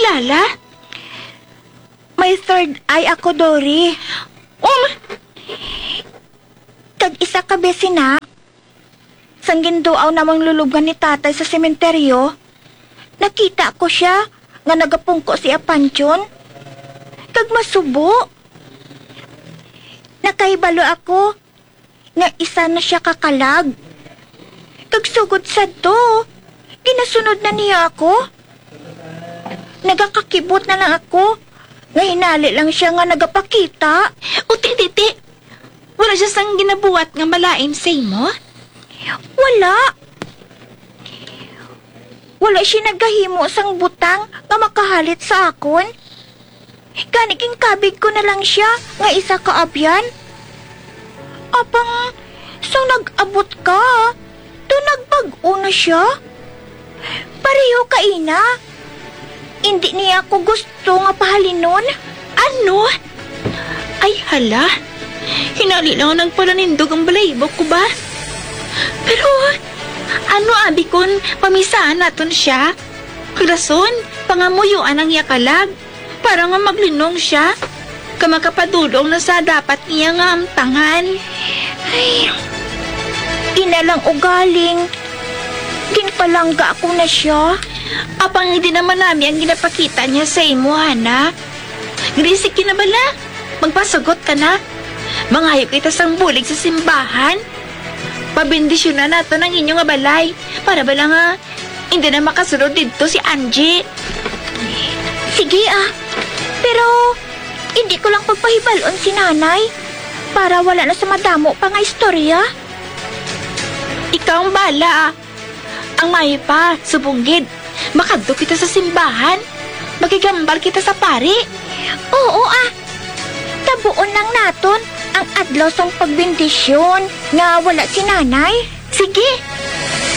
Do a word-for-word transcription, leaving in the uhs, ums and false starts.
Lala? May third eye ako, Dory. Um, Kag isa ka besi na, sang ginduaw namon lulubngan ni Tatay sa sementeryo, nakita ko sia nga nagapungko si Apanchon, kag masubo. Nakahibalo ako nga isa na sia ka kalag. Kag sugod sadto, ginasunod na niya ako. Nagakakibot na lang ako nga hinali lang sia nga nagapakita. O, ti, ti, ti. Wala sia sang ginabuhat nga malain sa imo? Wala. Wala siya nagahimo sang butang nga makahalit sa akon. Gani ginkabig ko na lang sia nga isa ka abyan. Apang sang nag-abot ka, to nagbag-o na sia. Pareho ka ina. Indi niya ako gusto nga pahalinon. Ano? Ay, hala. Hinali lang nagpalanindog ang balahibo ko ba? Pero, ano abi kon pamisahan naton sia? Rason, pangamuyuan ang iya kalag, para nga maglinong sia, ka makapadulong na sa dapat niya nga amtangan. Ay, ina lang ugaling, ginpalangga ako na sia. Apang hindi naman nami ang ginapakita niya sa imo, Hana. Grisik yun na bala. Magpasugot ka na. Mangayo kita sang bulig sa simbahan. Pabendisyonan naton ang inyo nga balay. Para bala nga hindi na makasulod didto si Angie. Sige, ah. Pero hindi ko lang pagpahibal-on si Nanay para wala na sa madamo pa nga istorya. Ikaw ang bala, ah. Ang maayo pa, subong gid, makadto kita sa simbahan. Makigambal kita sa pari. Oo, ah. Tabuon lang naton ang adlaw sang pagbendisyon nga wala si Nanay. Sige,